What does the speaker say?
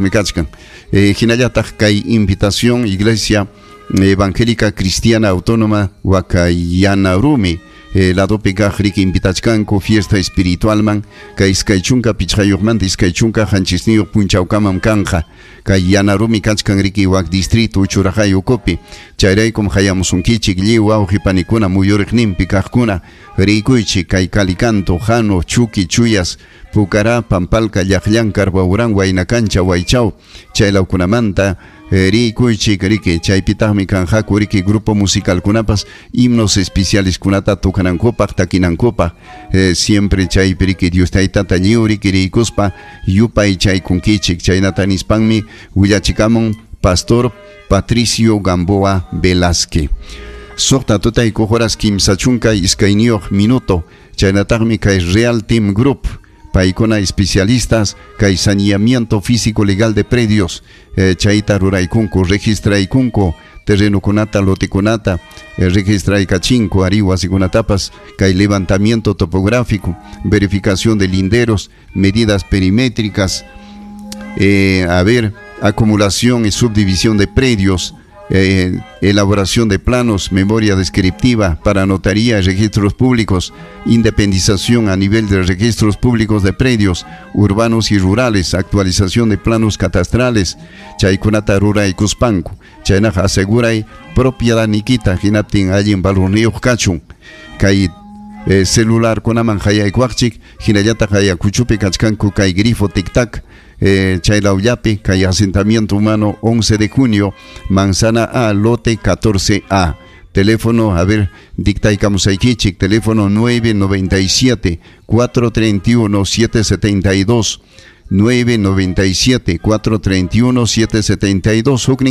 Chaypitaqmi kachkan. Hinallataq kay invitación Iglesia Evangélica Cristiana Autónoma Wakayanarumi ladopi kaq riki invitachkanku fiesta espiritualman kay 25manta 27 punchawkamam kanqa kay Yanarumi kachkan riki wak distrito Uchurajay ukupi. Chayraykum hayamusunkichik lliw wawqi panikuna muyuriqninpi kaqkuna riykuychik kay Calicanto, Jano, Chuqui, Chuyas, Pucará, Pampalca, Llaqllan, Carbaurán, Huaynacancha, Huaychao, chaylawkunamanta riykuychik riki chaypitaqmi kanqaku riki grupo musicalkunapas himnos especiales kunata tocanankupaq takinankupaq siempre chaypi riki Dios taytata lliw riki riykuspa yupaychaykunkichik chaynata nispanmi willachikamun Pastor Patricio Gamboa Velázquez. 6 tutayku horas 32 minuto chaynataqmi kay Real Team Group paykuna especialistas kay saneamiento físico legal de predios chayta ruraykunku registraykunku terrenokunata lotekunata registraykachinku ari wasikunatapas kay levantamiento topográfico, verificación de linderos, medidas perimétricas, a ver, acumulación y subdivisión de predios, elaboración de planos, memoria descriptiva para notaría y registros públicos, independización a nivel de registros públicos de predios urbanos y rurales, actualización de planos catastrales, chaykunata ruraykuspanku, chaynaqa aseguray propiedad nikita hinaptin allin valorniyuq kachun, kay celular kunaman hayaykuwaqchik, hinallataq hayakuchupi kachkanku kay grifo tic-tac, chaylawllapi kay asentamiento humano 11 de junio, Manzana A, lote 14A. Teléfono, a ver, dictaykamusaykichik, teléfono 997 431 772, 997 431 772.